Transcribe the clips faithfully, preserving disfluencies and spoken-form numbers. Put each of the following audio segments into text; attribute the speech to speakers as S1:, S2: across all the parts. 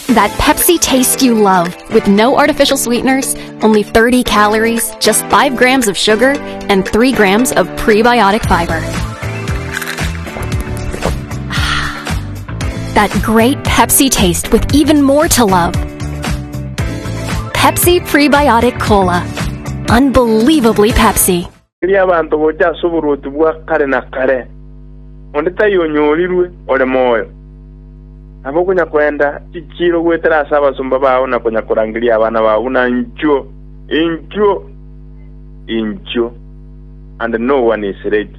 S1: That Pepsi taste you love with no artificial sweeteners, only thirty calories, just five grams of sugar, and three grams of prebiotic fiber. That great Pepsi taste with even more to love. Pepsi Prebiotic Cola. Unbelievably Pepsi.
S2: Erio abanto gocha ase oboruoti bwa kare na kare, onde taiyo onyorirwe ore moyo. Nabo okonya koenda chichiiro goetera ase abasomba bao na konya korangeria abana bao buna inchuo, inchuo, inchuo, and no one is ready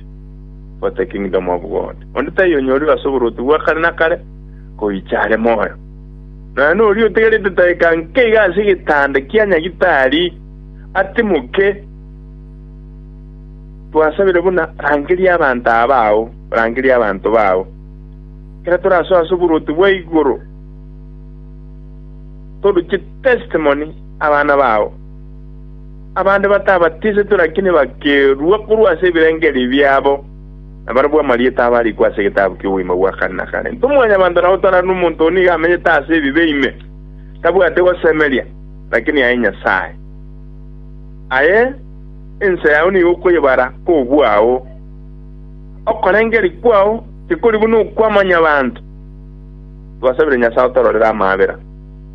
S2: for the kingdom of God. Onde taiyo onyorirwe ase oboruoti bwa kare na kare goicha are moyo. Nonya noria otegerete daika nke iga ase egetanda kia nyagitari atimoke. Twasabire buna rangeria abanto aba bao, rangeria abanto bao. Ekero torasoe ase oboruoti bwa igoro, toruche testimony abana bao. Abande batabatisetwe lakini bakerua korwa ase ebirengererio biabo, na barabwo amarieta abo arikwe ase egetabu ki'obogima bwa kare na kare. Intwe mwanyabanto nabo torarore omonto oo nigo amenyete ase ebibe ime, tabwati gosemeria, lakini aye Nyasae, aye ense yao nigo okoyebara kobwao. Okorengereria kwao tikori buna okwa mwanyabanto. Twasabire Nyasae otororere amaabera.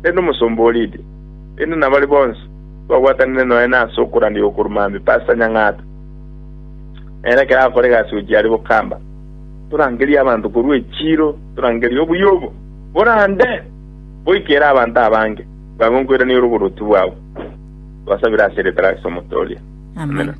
S2: Rende omosomba o Lidia, rende nabaria bonsi twabwatanire nonya nase okorandia gokorwa mambia, Pastor Nyang'ata, nere ekero agokora egasi gochia aria bokamba, torangerie abanto korwa echiiro, torangerie obuya obo borande boikere abanto abange, bwango nkoirania ore oboruoti bwao. Twasabire ase erieta ria Yeso Omotoria.
S3: Amen.
S2: Amina.